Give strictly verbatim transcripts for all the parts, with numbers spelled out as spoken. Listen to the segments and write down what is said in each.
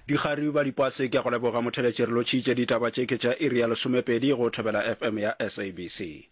Dikgaruru ba dipase ke a go leboga motheletši re lotšhitše ditaba tše ke tša iri ya lesomepedi go Thobela F M ya S A B C.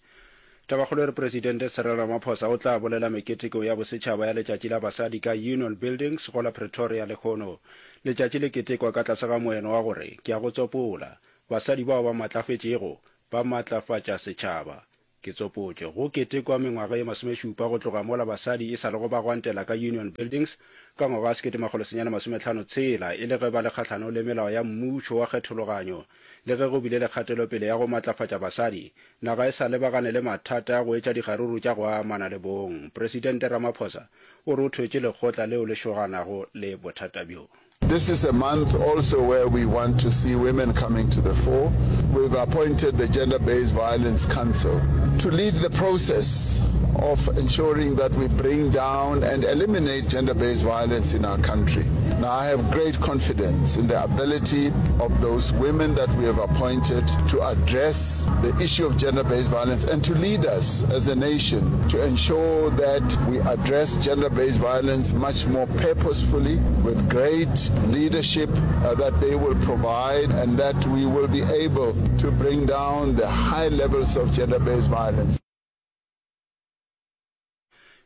Tabakgolo e re Presidente Cyril Ramaphosa o tla bolela meketeko ya bosetšhaba ya Letšatši la Basadi ka Union Buildings go la Pretoria lehono. Letšatši le ketekwa ka tlase ga moeno wa gore, ke a go tsopola, basadi bao ba matlafetšego ba matlafatša setšhaba. Ke tsopotše. Go ketekwa mengwaga ye masomešupa go tloga mola basadi e sa lego ba gwantela ka Union Buildings ka ngwaga wa sekete makgolo senyane masomehlano tshela e le ge ba le kgahlanong le melao ya mmušo wa kgethologanyo. Le ge go bile le kgatelopele ya go matlafatša basadi, naga e sa lebagane le mathata a go etša dikgaruru tša go amana le bong. Presidente Ramaphosa o re o thwetše lekgotla leo le šoganago le bothata bjo. This is a month also where we want to see women coming to the fore. We've appointed the Gender-Based Violence Council to lead the process of ensuring that we bring down and eliminate gender-based violence in our country. Now, I have great confidence in the ability of those women that we have appointed to address the issue of gender-based violence and to lead us as a nation to ensure that we address gender-based violence much more purposefully with great leadership uh, that they will provide and that we will be able to bring down the high levels of gender-based violence.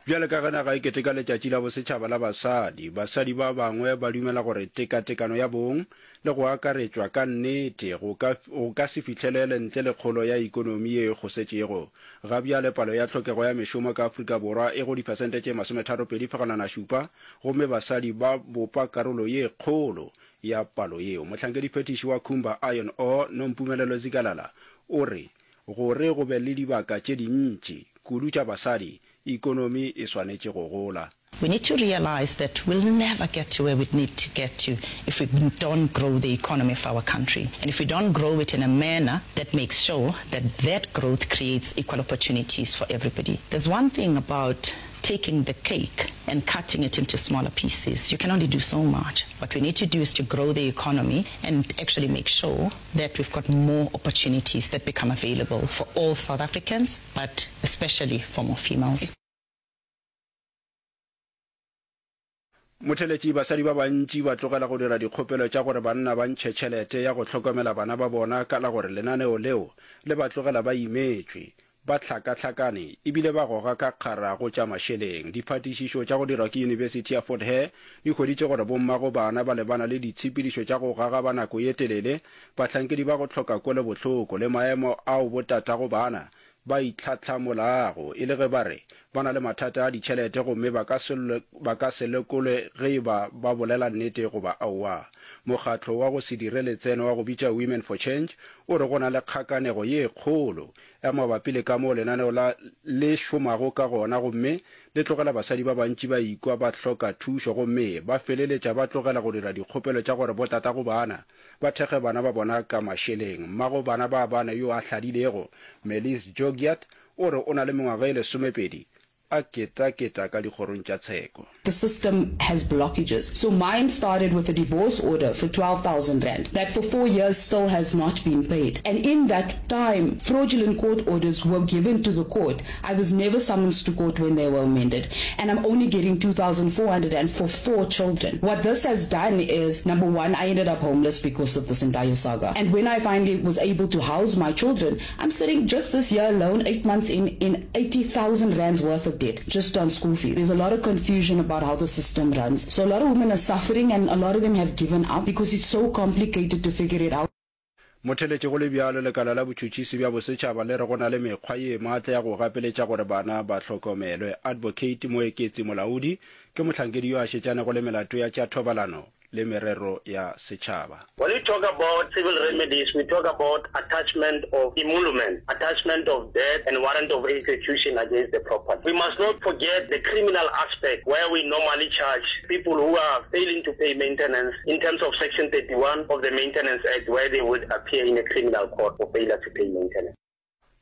Bjale ka ge naga e keteka Letšatši la Bosetšhaba la Basadi, basadi ba bangwe ba dumela gore tekatekano ya bong le go akaretšwa ka nnete go ka go ka se fihlelele ntle le kgolo ya ekonomi ye e kgosetšego. Ga bjale palo ya tlhokego ya mešomo ka Afrika Borwa e go diphesente tše masometharopedi fegelwana šupa gomme basadi ba bopa karolo ye kgolo ya palo yeo. Mohlankediphethiši wa Kumba Iron Ore, Nompumelelo Zikalala, o re gore go be le dibaka tše dintši kudu tša basadi, ekonomi e swanetše go gola. We need to realize that we'll never get to where we need to get to if we don't grow the economy of our country. And if we don't grow it in a manner that makes sure that that growth creates equal opportunities for everybody. There's one thing about taking the cake and cutting it into smaller pieces. You can only do so much. What we need to do is to grow the economy and actually make sure that we've got more opportunities that become available for all South Africans, but especially for more females. Motheletši, basadi ba bantši ba tlogela go dira dikgopelo tša gore banna ba ntšhe tšhelete ya go hlokomela bana ba bona ka la gore lenaneo leo le ba tlogela ba imetšwe, ba hlakahlakane e bile ba goga ka kgara go tša mašeleng. Diphatišišo tša go dirwa ke Yunibesithi ya Fort Hare di hweditše gore bommago bana ba lebana le ditshepedišo tša go gagaba nako ye telele, bahlankedi ba go hloka kwelobohloko le maemo ao botatago bana ba itlhahlamolago e le ge ba re ba na le mathata a ditšhelete gomme ba ka se ba ka se lekolwe ge e ba ba bolela nnete goba aowa. Mokgatlo wa go se dire letseno wa go bitša Women for Change o re go na le kgakanego ye kgolo ya mabapi le kamoo lenaneo la le šomago ka gona gomme le tlogela basadi ba bantši ba ikwa ba hloka thušo gomme ba feleletša ba tlogela go dira dikgopelo tša gore botatago bana ba thekge bana ba bona ka mašeleng. Mmago bana ba bane yo a hladilego, Melis Jogiat, o re o na le mengwaga e lesomepedi a ketaketa ka dikgorong tša tsheko. The system has blockages. So mine started with a divorce order for twelve thousand rand that for four years still has not been paid. And in that time, fraudulent court orders were given to the court. I was never summoned to court when they were amended. And I'm only getting two thousand four hundred and for four children. What this has done is, number one, I ended up homeless because of this entire saga. And when I finally was able to house my children, I'm sitting just this year alone, eight months in, in eighty thousand rands worth of debt just on school fees. There's a lot of confusion about how the system runs. So a lot of women are suffering and a lot of them have given up because it's so complicated to figure it out. Motheletši, go le bjalo, lekala la botšhotšhisi bja bosetšhaba le re go na le mekgwa ye maatla ya go gapeletša gore bana ba hlokomelwe. Advocate Moeketsi Molaodi ke mohlankedi yo a šetšanego le melato ya tša thobalano le merero ya setšhaba. When we talk about civil remedies, we talk about attachment of emolument, attachment of debt, and warrant of execution against the property. We must not forget the criminal aspect, where we normally charge people who are failing to pay maintenance in terms of Section thirty-one of the Maintenance Act, where they would appear in a criminal court for failure to pay maintenance.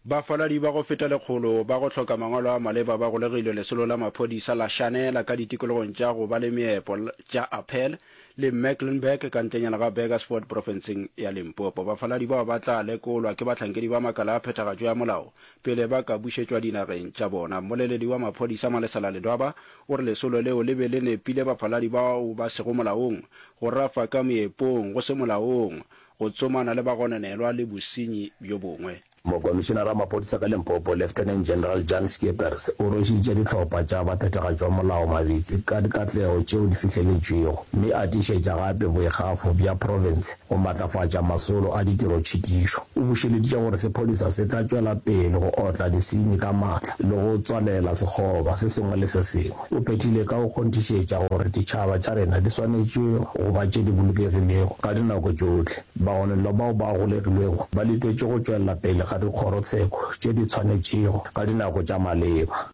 Bafaladi ba go feta lekgolo ba go hloka mangwalo a maleba ba golegilwe lesolo la maphodisa la Shanela ka ditikologong tša go ba le meepo tša Appel le Mecklenburg ka ntlenyana ga Burgersfort profenseng ya Limpopo. Bafaladi bao ba tla lekolwa ke bahlankedi ba makala a phethagatšo ya molao pele ba ka bušetšwa dinageng tša bona. Mmoleledi wa maphodisa Malesela Ledwaba o re lesolo leo le be le nepile bafaladi bao ba sego molaong, go rafa ka meepong go se molaong, go tsomana le bagononelwa le bosenyi bjo bongwe. Mokomišenara wa maphodisa ka Limpopo, Lieutenant General Jan Schippers o rwešitše dihlopha tša baphethagatši ba molao mabitsi ka dikatlego tšeo di fihleletšwego mme a tiišetša gape boikgafo bja profense go matlafatša masolo a ditirotšhitišo. O bušeleditše gore sephodisa se tla tšwela pele go otla disenyi ka maatla le go tswalela sekgoba se sengwe le se sengwe. O phethile ka go kgonthišetša gore ditšhaba tša rena di swanetše go ba tše di bolokegilego ka dinako tšohle. Bagononelwa bao ba golegilwego ba letetšwe go tšwelela pele ga dikgorotsheko tše di tshwanetšego ka dinako tša maleba.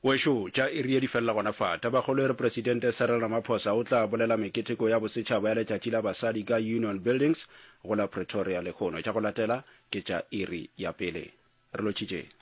Wešo, tša iri ye di felela gona fa. Tabakgolo e re Presidente Cyril Ramaphosa o tla bolela meketeko ya bosetšhaba ya Letšatši la Basadi ka Union Buildings go la Pretoria lehono. Tša go latela ke tša iri ya pele. Re lotšhitše.